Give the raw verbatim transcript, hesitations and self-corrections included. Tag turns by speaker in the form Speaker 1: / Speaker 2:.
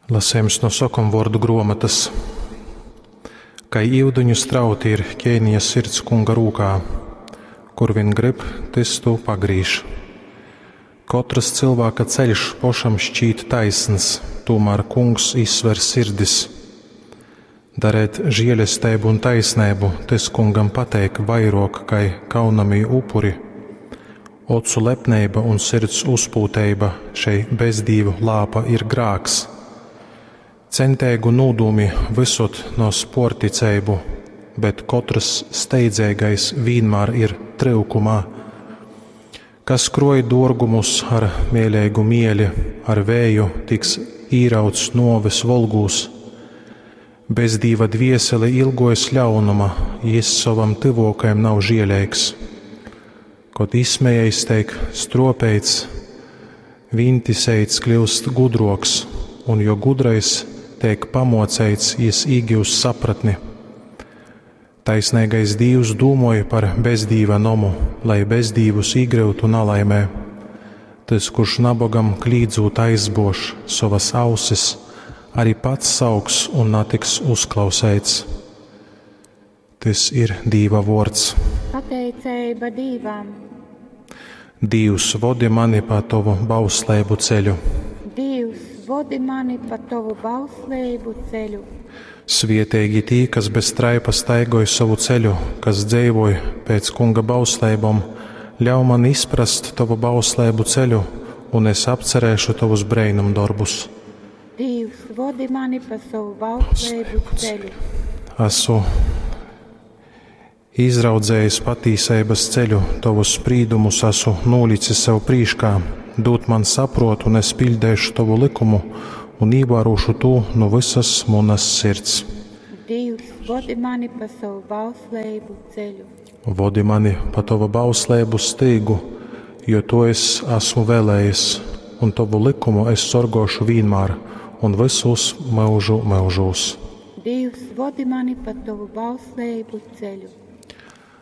Speaker 1: Lasejums no sokomvuordu gruomotys. Kai iudiņu strauti ir ķēniņa sirds kunga rūkā, kur vien grib, tys tū pagrīž. Kotrys cylvāka ceļš pošam šķīt taisns, tūmār kungs izsver sirdis. Darēt žielesteibu un taisneibu, tys kungam pateik vairuok kai kaunamī upuri. Ocu lepneiba un sirds uzpūteiba, šei bezdīvu lāpa ir grāks. Centeigu nūdūmi vysod nos puorticeibu, bet kotrys steidzeigais vīnmār ir tryukumā. Kas kruoj duorgumus ar mēleigu mieli, ar vēju tiks īrauts nuoves volgūs. Bezdīva dviesele ilgojas ļaunuma, jis sovam tyvuokajam nav žieleigs. Kod izsmejējs teik struopeits, vīntiseits kļiust gudruoks, un jo gudrais teik pamuoceits, jis īgiust sapratni. Taisneigais Dīvs dūmoj par bezdīva nomu, lai bezdīvus īgryutu nalaimē. Tys, kurš nabogam klīdzūt aizbuož sovas ausis, arī pats sauks un natiks uzklauseits. Tys ir Dīva vuords.
Speaker 2: Pateiceiba Dīvam.
Speaker 1: Dīvs, vodi mani pa tovu bausleibu ceļu.
Speaker 2: Dīvs, vodi mani pa tovu bausleibu ceļu.
Speaker 1: Svieteigi tī, kas bez traipa staigoj sovu ceļu, kas dzeivoj pēc kunga bausleibom. Ļauj man izprast tovu bausleibu ceļu, un es apcerēšu tovus breinumdorbus.
Speaker 2: Dīvs, vodi mani pa sovu bausleibu ceļu.
Speaker 1: Esmu izraudzējis patīseibas ceļu, tovus sprīdumus esmu nolicis sev prīškā. Dūd man sapruotu, un es piļdeišu tovu likumu un īvērošu tū nu visas munas sirds.
Speaker 2: Dīvs, vodi mani pa sovu bausleibu ceļu.
Speaker 1: Vodi mani pa tovu bausleibu stīgu, jo to es esmu vēlējies, un tovu likumu es sorgošu vienmēr un visus mūžu mūžos.
Speaker 2: Dīvs, vodi mani pa tovu bausleibu ceļu.